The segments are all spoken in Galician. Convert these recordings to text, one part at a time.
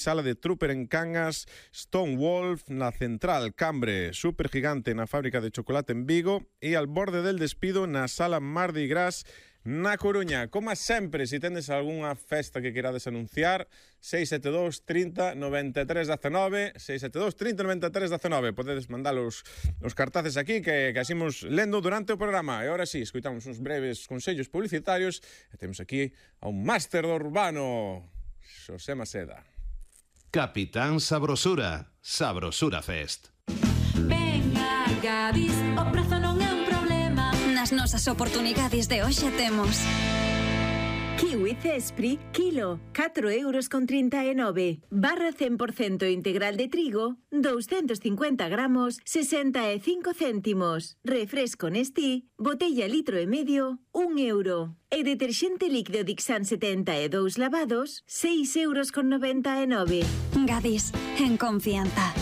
Sala de Trooper en Cangas, Stonewolf na Central, Cambre, Supergigante na Fábrica de Chocolate en Vigo e Al Borde del Despido na Sala Mardi Gras na Coruña. Como sempre, se tendes algunha festa que querades anunciar, 672 30 93 19, 672 30 93 19. Podedes mandar os cartaces aquí que asimos lendo durante o programa. E agora sí, escoitamos uns breves consellos publicitarios e temos aquí a un máster do urbano, Xosé Maceda. Capitán Sabrosura, Sabrosura Fest. Ven a Gadis, o prezo non é un problema. Nas nosas oportunidades de hoxe temos Kiwi Cespri, kilo, 4,39 €. Barra 100% integral de trigo, 250 gramos, 65 céntimos. Refresco Nestí, botella litro e medio, 1 €. E deterxente líquido Dixan 72 lavados, 6,99 €. Gadis, en confianza.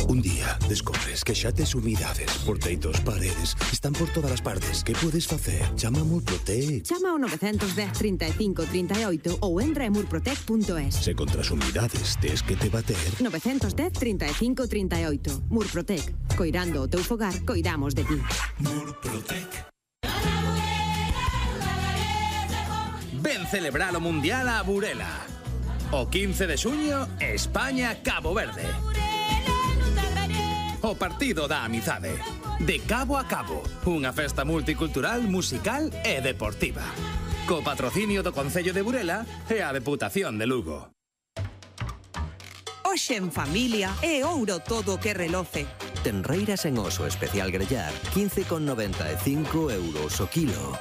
Un día descobres que xa tes humidades por teitos, paredes, están por todas as partes. Que podes facer? Chama a Murprotec. Chama ao 910 35 38 ou entra en murprotec.es. Se contra as humidades tes que te bater. 910 35 38. Murprotec. Coirando o teu fogar, coidamos de ti. Murprotec. Ven celebrar o Mundial a Burela. O 15 de xuño, España-Cabo Verde. O partido da amizade. De cabo a cabo, unha festa multicultural, musical e deportiva. Co patrocinio do Concello de Burela e a Deputación de Lugo. Hoxe en familia é ouro todo o que reloce. Tenreiras en oso especial grellar, 15,95 € o kilo.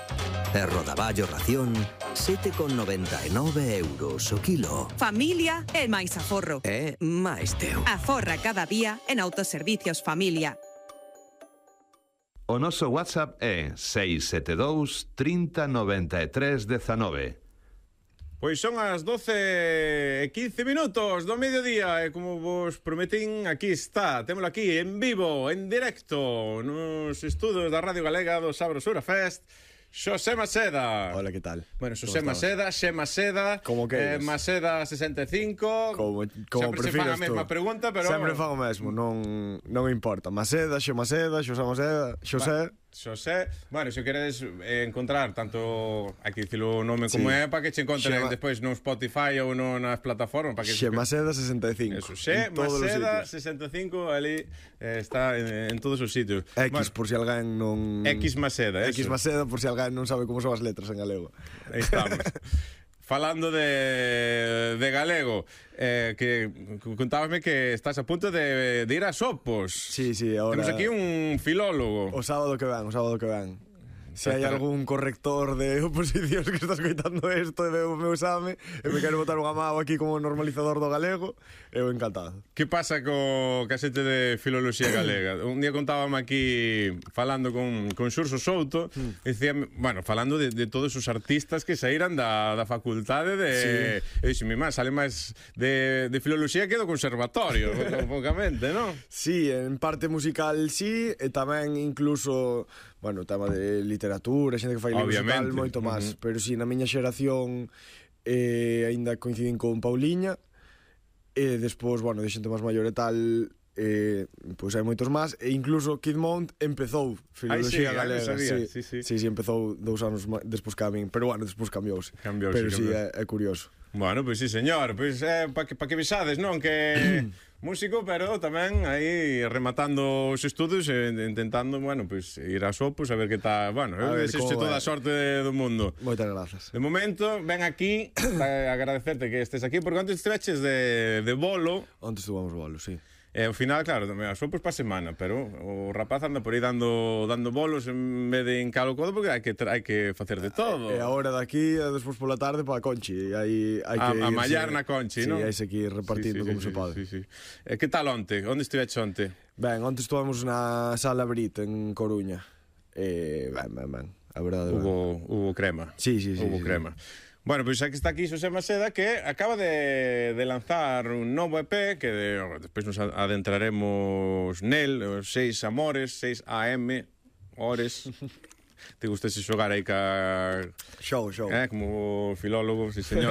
E rodaballo ración, 7,99 € o kilo. Familia é máis aforro. É máis teu. Aforra cada día en Autoservicios Familia. O noso WhatsApp é 672 30 93 19. Pois son as 12:15 do mediodía e como vos prometín, aquí está, témolo aquí en vivo, en directo, nos estudos da Radio Galega do Sabrosura Fest, Xosé Maceda. Hola, que tal? Bueno, Xosé Maceda, Xe Maceda, como que Maceda 65. Como sempre se fan a mesma pregunta, pero sempre fan o mesmo, non importa. Maceda, Xe Maceda, Xosé Maceda, Xosé. Xosé, bueno, se queredes encontrar tanto, hai que dicilo o nome como é, para que che encontren despois no Spotify ou nas plataformas, para que Xe Maceda 65. Eso, Xe Maceda 65, ali está en todos os sitios. X, por si alguén non... X Maceda, eso. X Maceda, por si alguén non sabe como son as letras en galego. Aí estamos. Falando de galego, que contábasme que estás a punto de ir a Sopos. Sí, ahora... Temos aquí un filólogo. O sábado que ven. Se hai algún corrector de oposicións que está escoitando isto e veo o meu exame e me quero botar unha mao aquí como normalizador do galego, eu encantado. Que pasa co casete de filoloxía galega? Un día contábame aquí falando con Xurxo Souto, dicía, bueno, falando de todos os artistas que saíran da facultade de... E dixo, mi má, sale máis de filoloxía que do conservatorio, poucamente, non? Sí, en parte musical sí, e tamén incluso, bueno, tema de literatura, xente que fai libros e tal, moito máis. Pero si, na miña xeración aínda coinciden con Pauliña, e despois, bueno, de xente máis maior e tal, pois hai moitos máis, e incluso Kid Mount empezou filoloxía galega. Sí, empezou 2 anos despois que a min, pero bueno, despois cambiouse. Pero sí, é curioso. Bueno, pois sí, señor, pois para que visades, non? Que músico, pero tamén aí rematando os estudos e intentando, bueno, pois ir a Sopos a ver que está, bueno, eu desexo toda a sorte do mundo. Moitas grazas. De momento, ven aquí para agradecerte que estés aquí, porque antes estiveches de bolo. Antes estuvamos bolo, sí. E ao final, claro, a Sopos para semana, pero o rapaz anda por aí dando bolos en vez de encalo codo, porque hai que facer de todo. E agora daqui, despois pola tarde, para a Conchi. Hai que a mallar na Conchi, non? Sí, hai que ir repartindo como se pode. Que tal onte? Onde estiveches onte? Ben, onte estuvamos na Sala Brit en Coruña. Ben, a verdade. Hubo crema. Sí. Hubo crema. Bueno, pois aquí está aquí Xosé Maceda, que acaba de lanzar un novo EP que despois nos adentraremos nel, os 6 amores, 6 AM hores. Te gustase xogar aí ca... Show. Como filólogo, sí señor.